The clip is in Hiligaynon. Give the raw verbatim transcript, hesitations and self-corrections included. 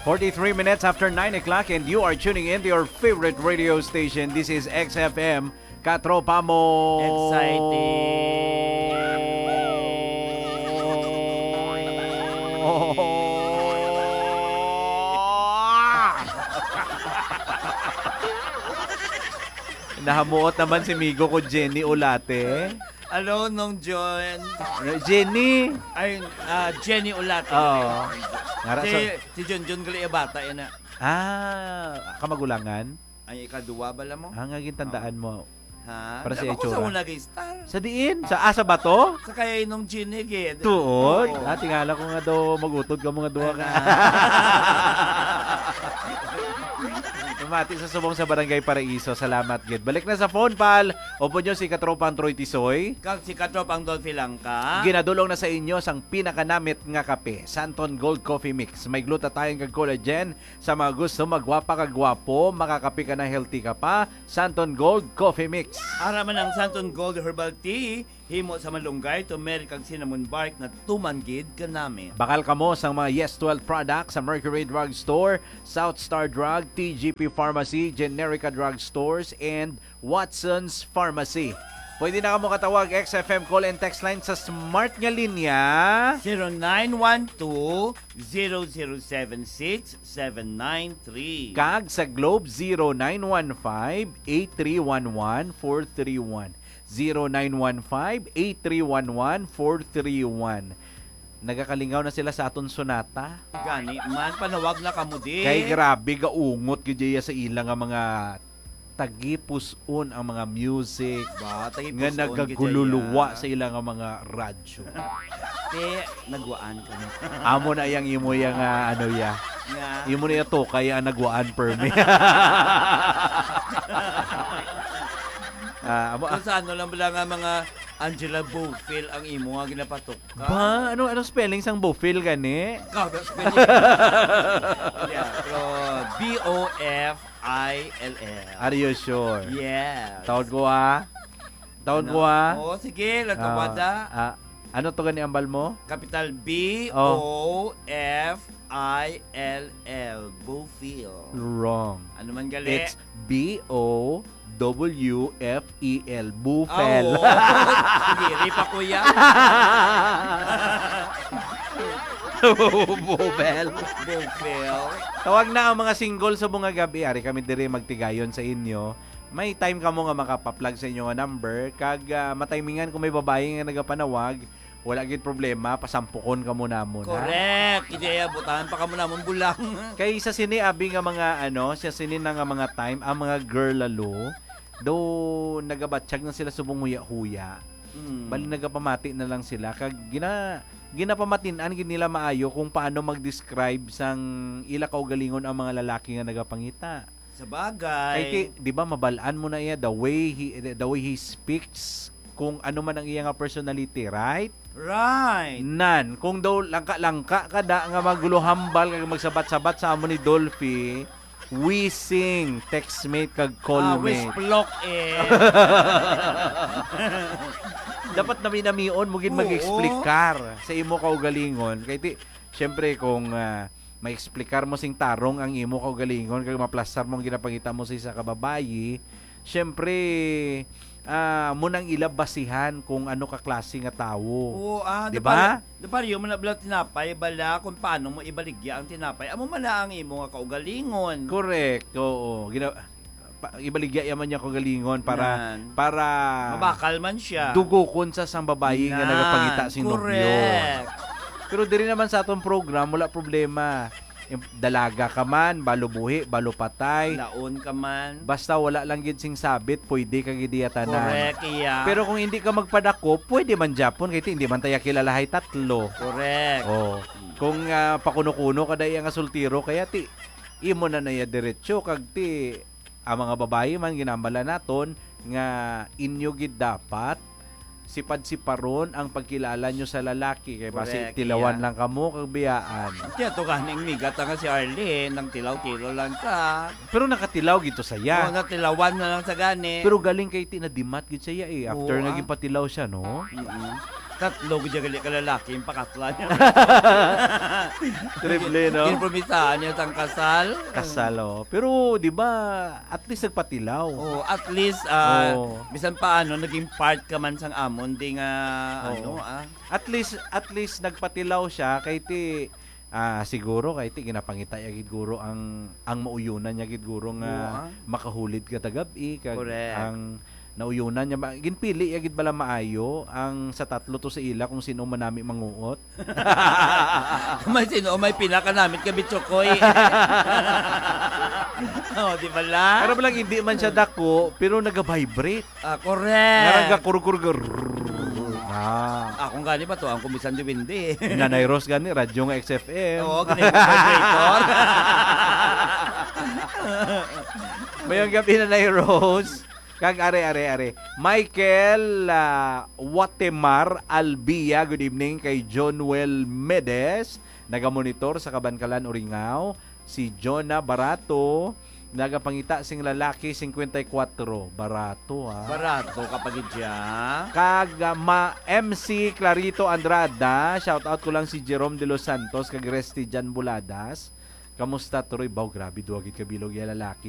Forty-three minutes after nine o'clock and you are tuning in to your favorite radio station. This is X F M, Katropa Mo. Exciting. Nahamuot naman si migo ko Jenny Olate. Hello, Nong John. Jenny! Ay, ah, Jenny Olate. Oo. Ngara Si, sa si John John gali bata yan na. Ah, kamagulangan? Ay, ikaduwa bala mo? Ah, nga gintandaan Oo. mo. Ha? Para sa Dapat ko sa itsura. Una gay star. Sa diin? Sa asa ba to? Sa kay Nong Jenny gid. Tuod? Oo. Ah, tingala ko nga daw magutod ka mo nga duha ka. Ana. Mati sa subong sa Barangay Paraiso. Salamat gid. Balik na sa phone, pal. Upod nyo si Katropang Troy Tisoy. Kag si Katropang Dolphy Langka. Ginadulong na sa inyo sang pinakanamit nga kape, Santon Gold Coffee Mix. May glutathione kag collagen. Sa mga gusto magwapa kag gwapo, makakape ka na, healthy ka pa, Santon Gold Coffee Mix. Ara man ang Santon Gold Herbal Tea, himo sa malunggay, turmeric kag cinnamon bark na tuman gid kanami. Bakal kamo sang mga Yes Twelve products sa Mercury Drug Store, South Star Drug, T G P Pharmacy, Generica Drug Stores, and Watson's Pharmacy. Pwede na kamo katawag X F M call and text line sa smart nga linya. Zero nine one two, zero zero seven six, seven nine three. Kag sa Globe, zero nine one five, eight three one one, four three one. Zero nine one five, eight three one one, four three one. Nagakalingaw na sila sa aton sonata. Gani man, panawag na kamo di. Kay grabe, gaungot gid iya sa ila nga mga tagipus-on ang mga music Ba, nga tagipus-on gid nagagululuwa iya. Sa ila nga mga radyo. Te, nagwaan ka na. Amo na yang imo yang, ah, ano ya. Nga. Imo na ya to kaya nagwaan permi. Ah, amo, ah. Kung sa ano lang bala nga mga Angela Bofill ang imo nga ginapatok. Ba? Ano, anong spelling sang Bofill gani? Ikaw, that's spelling. Yeah, pero B O F I L L. Are you sure? Yes. Taon ko, ah. Taon Ano? ko, ah. Oo, sige, Ah, latawada. ah, ano to gani ambal mo? Capital B O F I L L, Bofill. Wrong. Ano man gali? It's B O W F E L, Bufel. Ah, oo. Diri pa, kuya. Bufel. Bufel. Tawag na ang mga single sa mga gabi. Ari kami diri magtigayon sa inyo. May time kamo nga makapaplag sa inyo nga number. Kag, ah, matimingan kung may babayi nga nagapanawag, wala gid problema, pasampukon kamo namon, ha? Correct. Hindi, butangan pa kamo namon bulang. Kay sa sini, abi nga mga, ano, sa sini na nga mga time, ang mga girl lalo, daw nagabatsyag na sila subong huya-huya. Mm. Bali, nagapamati na lang sila. Kag gina-, ginapamatin-an gid nila maayo kung paano mag-describe sang ila kaugalingon ang mga lalaki nga nagapangita. Sa bagay. Kay ti, di ba, mabal-an mo na iya, the way he, the way he speaks, kung ano man ang iya nga personality, right? Right. Nan, kung daw langka-langka ka da nga magluhambal kag magsabat-sabat sa amo ni Dolphy, wising, textmate kag Ah, callmate. Wisplok eh. Dapat nami-namion mo gid Oo. Mag-explicar sa imo kaugalingon. Kay ti, syempre, kung, ah, ma-explicar mo sing tarong ang imo kaugalingon kag maplastar mo ang ginapangita mo sa isa ka babayi, syempre, ah, mo nang ila basihan kung ano ka klase nga tawo. Oo, ah, Di di ba? pare-, di pareho man na bala tinapay, bala kung paano mo ibaligya ang tinapay. Amo man na ang imo nga kaugalingon. Correct, oo. Gina-, pa, ibaligya yaman niya kaugalingon para, Nan. para Mabakal man siya. dugokon sa sang babayi nga Nan, nagapangita si nobyo. correct. Pero diri naman sa atong program, wala problema. Im-, dalaga ka man, balo buhi, balo patay. Laon ka man. Basta wala lang gid sing sabit, pwede ka gid iya tanan. Correct, iya. Pero kung hindi ka magpadakop, pwede man gyapon, kay ti, hindi man tayo kilalahay tatlo. Correct. Oh. Kung, ah, pakuno-kuno ka da iya nga soltero, kaya ti, imo na na iya diretso, kag ti, ang mga babayi man, ginambala naton nga inyo gid dapat sipad-siparon ang pagkilala nyo sa lalaki, kay basi Correct, tilawan iya. lang kamo kag biyaan. Kaya to ganing migat nga si Arlene, nang tilaw-tilaw lang ka. Pero nakatilaw gito saya. Oo, natilawan na lang sa gani. Pero galing kay ti nadimat gid siya eh. After Oo, nga ah. gipatilaw siya, no? Mm-mm. Tatlo gid gali ka lalaki yung pakaslan niya. Triple, no? Kinpromisahan niya sang kasal. Kasal, oh. Pero, di ba, at least nagpatilaw. Oh, at least ah, Oh. bisan paano naging part ka man sang amon di nga Oo. ano ah. At least, at least nagpatilaw siya kay ti ah siguro kay ti ginapangita ya gid guro ang ang mauyunan niya gid guro nga Oo, ah. makahulid ka tagabi kag Correct. ang nauyunan niya ba, ginpili ya gid bala maayo ang sa tatlo to sa ila kung sino manami manguot. May sino may pinakanamit ka bitchokoy. Oh, di ba la? Pero lang hindi man siya dako pero nagavibrate. Ah, Ngarang correct. gakurgur ah. Akong gani ba to ang kumisan duwende? Nanay Rose gani radyo nga X F M. Oo, gani ko vibrator. Mayong gabi, Nanay Rose. Kag are, are, are. Michael ah, Watemar Albia, good evening kay John Well Medes. Nagamonitor sa Kabankalan, Uringao. Si Jonah Barato, nagapangita sing lalaki, singkwenta y kuwatro. Barato, ah. Barato ka pa gid siya. Kag ah, ma M C Clarito Andrada, shout out ko lang si Jerome De Los Santos kag Restijan Buladas. Kamusta, Turoy? Baw, grabe, duwa gid ka bilog ya lalaki